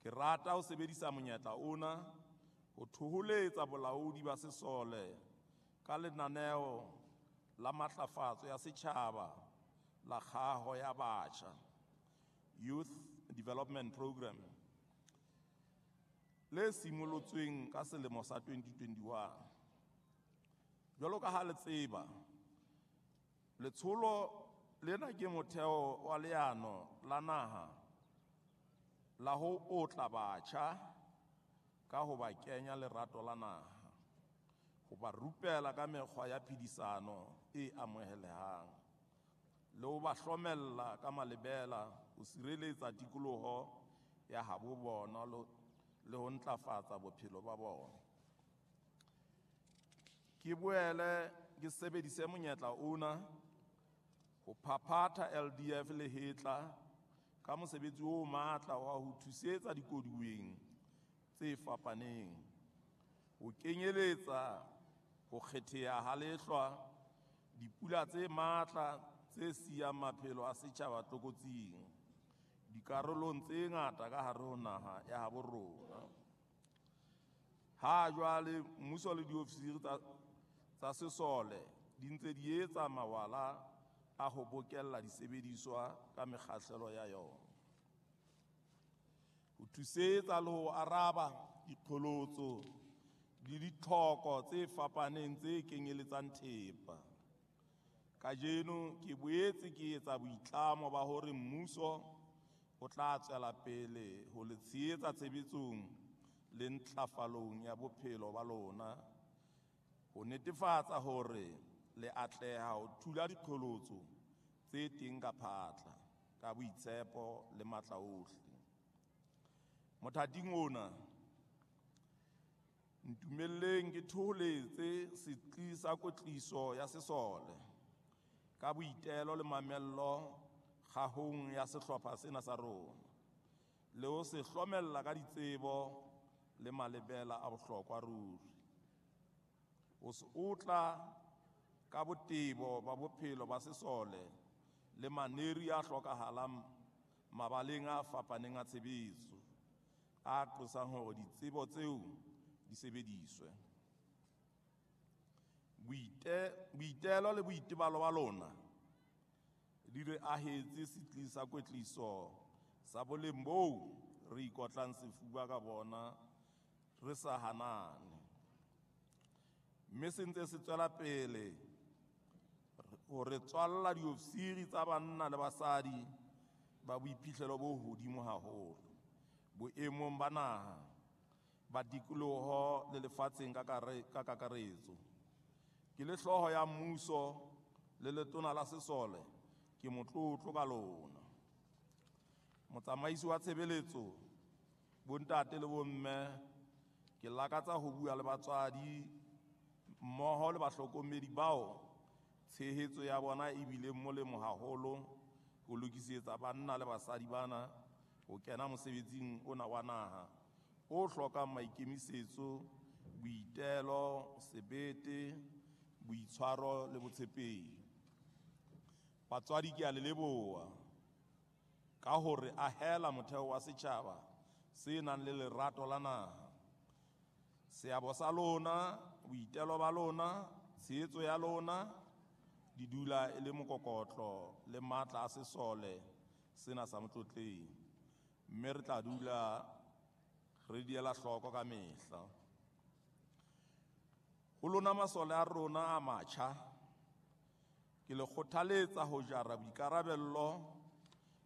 Ke rata ho sebedisa monyetla ona ho thoholetsa bolaodi ba sesole ka lenaneo la matlafatso ya setjhaba la kgaho ya batjha, Youth Development Programme, le simolotsweng ka selemo sa 2021. Jwalo ka ha le tseba, letsholo lena ke motheo wa leano la naha la ho otla batjha ka ho ba kenya lerato la naha, ho ba rupela ka mekgwa ya phedisano e amohelehang, le ho ba hlomella ka malebela ho sireletsa tikoloho ya habo bona le ho ntlafatsa bophelo ba bona. Ke boele ke sebedise monyetla ona ho phaphatha LDF le hetla ka mosebetsi o matla wa ho thusetsa dikoduweng tse fapaneng, ho kenyeletsa ho kgetheha ha lehlwa, dipula tse matla tse siyang maphelo a setjhaba tlokotsing dikarolong tse ngata ka hare ho naha ya habo rona. Ha jwale mmuso le diofisiri tsa sesole di ntse di etsa mawala a ho bokella disebediswa ka mekgahlelo ya yona, ho thusetsa le ho araba diqholotso le ditlhoko tse fapaneng tse kenyeletsang thepa. Kajeno ke boetse ke etsa boitlamo ba hore mmuso o tla tswela pele ho le tshehetsa tshebetsong le ntlafalong ya bophelo ba lona, ho netefatsa hore le atleha ho thula diqholotso tse teng ka phatla, ka boitshepo le matla ohle. Mothating ona, ntumelleng ke thoholetse setsi sa kwetliso ya sesole ka boitelo le mamello kgahong ya sehlopha sena sa rona, le ho se hlomella ka ditsebo le malebela a bohlokwa ruri. Ho se otla ka botebo ba bophelo ba sesole le maneri a hlokahalang mabaleng a fapaneng a tshebetso, a qosang hore ditsebo tseo di sebediswe. Boitelo le boitebalo ba lona di re ahetse setsi sa kwetliso sa boleng boo re ikotlang sefuba ka bona re sa hanane, mme se ntse se tswela pele ho re tswalla diofisiri tsa banna le basadi ba boiphihlelo bo hodimo haholo boemong ba naha, ba tikoloho le lefatsheng ka kakaretso. Ke le hlooho ya mmuso le letona la sesole, ke motlotlo ka lona. Motsamaisi wa tshebeletso, bontate le bomme, ke lakatsa ho bua le batswadi mmoho le bahlokomedi bao tshehetso ya bona e bileng molemo haholo ho lokisetsa banna le basadi bana ho kena mosebetsing ona wa naha o hlokang maikemisetso, boitelo, sebete, boitshwaro le botshepehi. Batswadi ke a le leboha ka hore ahela motheo wa setjhaba se nang le lerato la naha. Seabo sa lona, boitelo ba lona, tshehetso ya lona di dula e le mokokotlo le matla a sesole sena sa Motlotleng, mme re tla dula re di ela hloko ka mehla. Ho lona masole a rona a matjha, ke le kgothaletsa ho jara boikarabello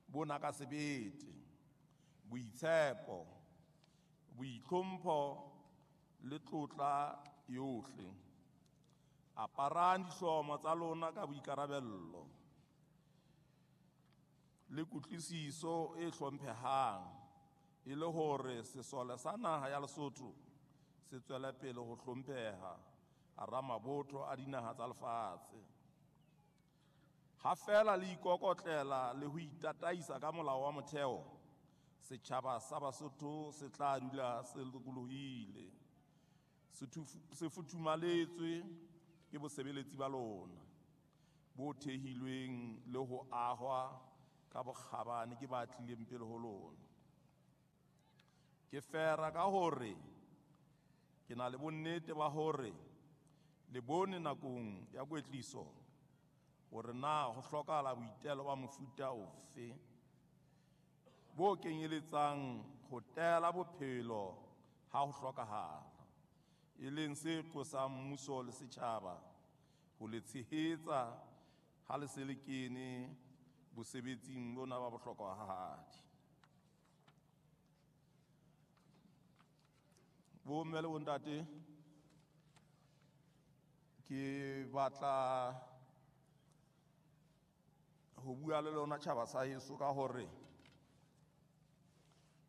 bona ka sebete, boitshepo, boitlhompho le tlotla yohle. Aparang dihlomo tsa lona ka boikarabello le kutlwisiso e hlomphehang, e le hore sesole sa naha ya Lesotho se tswele pele ho hlompheha hara mabotho a dinaha tsa lefatshe. Ha feela le ikokotlela le ho itataisa ka molao wa motheo, setjhaba sa Basotho se tla dula se lokolohile, se futhumaletswe ke bosebeletsi ba lona bo thehilweng le ho ahwa ka bokgabane ke ba tlileng pele ho lona. Ke fera ka hore ke na le bonnete ba hore le bone nakong ya kwetliso hore na ho hlokahala boitelo ba mofuta ofe bo kenyeletsang ho tela bophelo ha ho hlokahala, e leng se qosang mmuso le setjhaba ho le tshehetsa ha le se le kene bosebetsing bona ba bohlokwahadi. Bomme le bontate, ke batla ho bua le lona tjhaba sa heso ka hore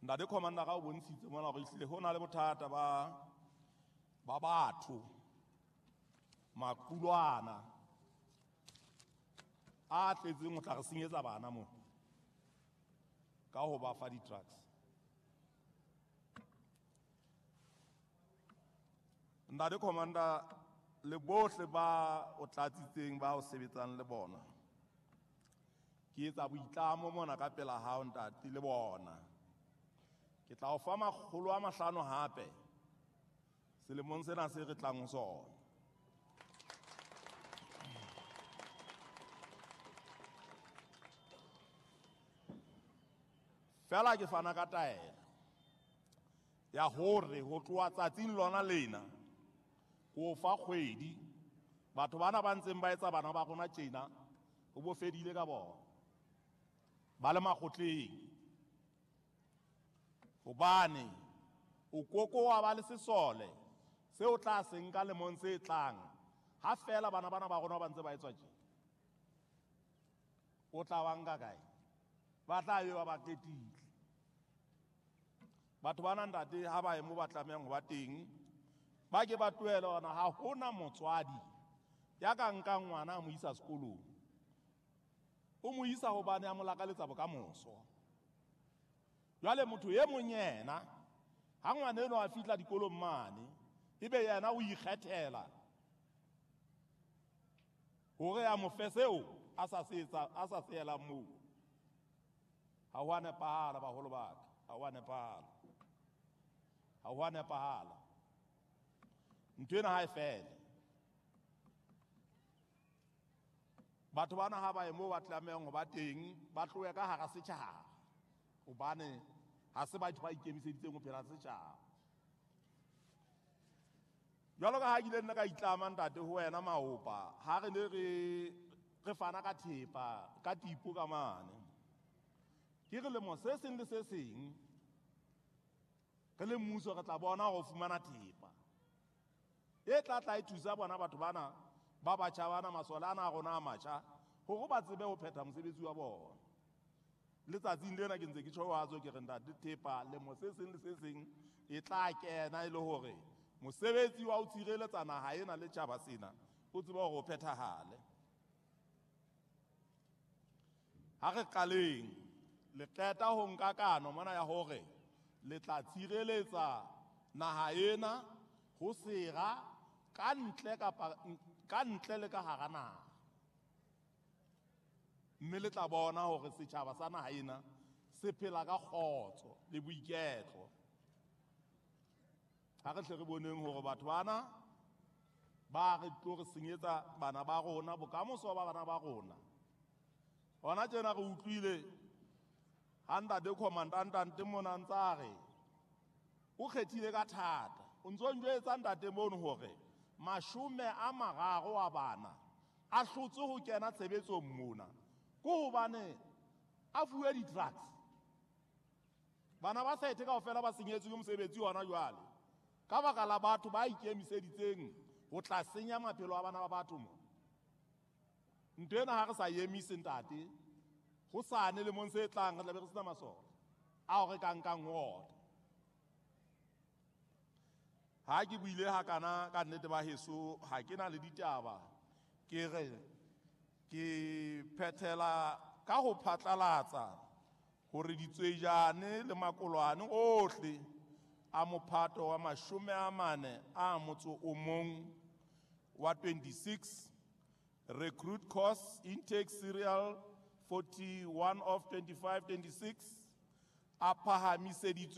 ntate commander ga o bontshitse mona hore ehlile ho na le bothata ba batho maqulwana a tletseng ho tla re senyetsa bana mo ka ho ba fa di-drugs. Ntate commander le bohle ba o tlatsitseng ba o sebetsang le bona, ke etsa boitlamo mona ka pela hao ntate le bona. Ke tla o fa 500 hape selemong sena se re tlang ho sona. Fela ke fana ka taelo ya hore ho tloha tsatsing lona lena ko fa kgwedi batho bana ba ntseng ba etsa bana ba rona tjena ho bo fedile ka bona ba le makgotleng, hobane o koko wa ba le sesole seo tla se nka lemong se tlang ha fela bana bana ba rona ba ntse ba etswa tje. O tla ba nka kae? Ba tla be ba ba qetile. Batho bana ntate ha ba ye mo ba tlamehang ho ba teng, ba ke ba tlohele hona. Ha hona motswadi ya ka nkang ngwana a mo isa sekolong, o mo isa hobane a mo lakaletsa bokamoso. Jwale motho e mong yena ha ngwana eno a fihla dikolong mane, ebe yena o ikgethela hore a mo fe seo a sa se etsa, a sa se elang moo. Ha ho a nepahala baholo ba ka, ha ho a nepahala, ha ho a nepahala. Ntho ena ha e fele. Batho bana ha ba ye moo ba tlamehang ho ba teng, ba tlohe ka hara setjhaba, hobane ha se batho ba ikemiseditseng ho phela setjhaba. Jwalo ka ha ke ile nna ka itlama ntate ho wena maopa, ha re ne re fana ka thepa ka tipo ka mane, ke re lemo se seng le se seng re le mmuso re tla bona hore o fumana thepa e tla tla e thusa bona batho bana ba batjha bana, masole ana a rona a matjha, hore ba tsebe ho phetha mosebetsi wa bona. Letsatsing lena ke ntse ke tjho wa tswe ke re ntate thepa lemo se seng le se seng e tla kena e le hore mosebetsi wa ho tshireletsa naha ena le tjhaba sena o tsebe hore o phethahale. Ha re qaleng le qeta ho nka kano mona ya hore le tla tshireletsa naha ena ho sera ka ntle kapa ka ntle le ka hara naha, mme le tla bona hore setjhaba sa naha ena se phela ka kgotso le boiketlo. Ha re hle re boneng hore batho bana ba re tlo re senyetsa bana ba rona, bokamoso ba bana ba rona. Hona tjena re utlwile ha ntate commandant mona ntse a re o kgethile ka thata, o ntso njwetsa ntate mono hore 30 wa bana a hlotse ho kena tshebetsong mona ke hobane a fuwe di-drugs. Bana ba sethe kaofela ba senyetswe ke mosebetsi hona jwale ka baka la batho ba ikemiseditseng ho tla senya maphelo a bana ba batho mo. Ntho ena ha re sa emise ntate, ho sane lemong se tlang re tla be re sena masole ao re ka nkang ho ona. Ha ke buile hakana ka nnete ba heso, ha ke na le ditaba, ke re ke phethela ka ho phatlalatsa hore ditswejane le makolwane ohle a mophato wa 41 wa 26 recruit course intake serial 41 of 25 26 a phahamiseditswe